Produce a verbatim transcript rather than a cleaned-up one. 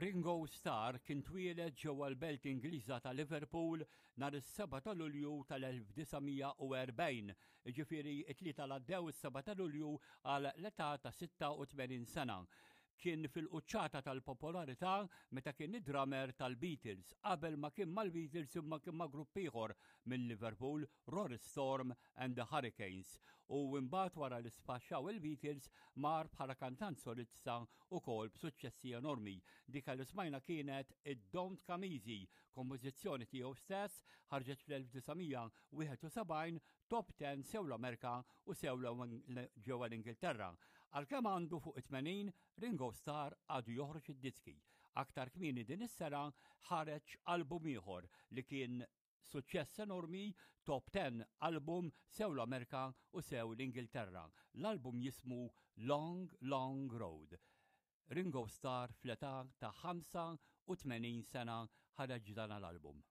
Ringo Starr kien twieled ġewwa l-belt Ingliża ta' Liverpool nhar is-seba' ta' Lulju tal-elf disa' mija u erbgħin, jiġifieri it-Tlieta li għaddew, is-seba' ta' Lulju, għal l-età ta' sitta u tmenin sena. Kien fil-quċċata tal-popolarità meta kien id-drummer tal-Beatles. Qabel ma kien mal-Beatles imma kien ma' grupp ieħor minn Liverpool, Rory Storm and the Hurricanes. U mbagħad, wara li sfaxxaw il-Beatles, mar bħala kantant solista ukoll b'suċċessi enormi. Dik li smajna kienet id-Don't Come Easy, kompożizzjoni tiegħu stess, ħarġet fl-elf disa' mija u wieħed u sebgħin, top ten sew l-Amerika u sew ġewwa l-Ingilterra. Għalkemm għandu fuq it-tmenin, Ringo Starr għadu joħroġ id-diski. Aktar kmieni din is-sena ħareġ album ieħor li kien suċċess enormi, top ten album sew l-Amerika u sew l-Ingilterra. L-album jismu Long Long Road. Ringo Starr fl-età ta' ħamsa u tmenin sena ħareġ dan l-album.